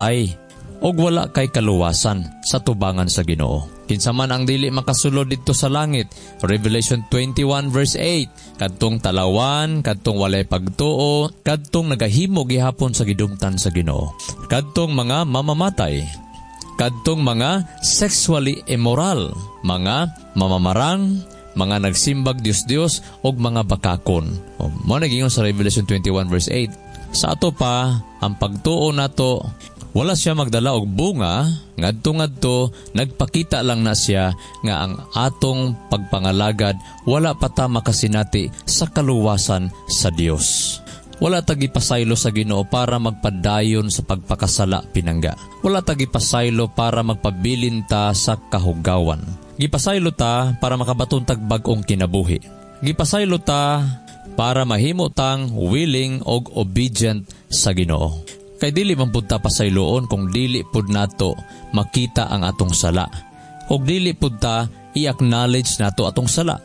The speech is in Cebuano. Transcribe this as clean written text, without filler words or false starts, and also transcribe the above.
Ay og wala kay kaluwasan sa tubangan sa Ginoo. Kinsa man ang dili makasulod didto sa langit? Revelation 21 verse 8. Kadtong talawan, kadtong walay pagtuo, kadtong nagahimo gihapon sa gidumtan sa Ginoo. Kadtong mga mamamatay, kadtong mga sexually immoral, mga mamamarang, mga nagsimbag Dios-Dios og mga bakakon. O, mao na giingon sa Revelation 21 verse 8. Sa ato pa, ang pagtuo nato wala siya magdala og bunga ngadto-ngadto nagpakita lang na siya nga ang atong pagpangalagad, wala pa ta makasinati sa kaluwasan sa Dios. Wala ta gipasaylo sa Ginoo para magpadayon sa pagpakasala, pinangga. Wala ta gipasaylo para magpabilin ta sa kahugawan. Gipasaylo ta para makabaton tag bag-ong kinabuhi. Gipasaylo ta para mahimo tang willing og obedient sa Ginoo. Kay dili man pud ta pasayloon kung dili pud nato makita ang atong sala. Og dili pud ta i-acknowledge nato atong sala.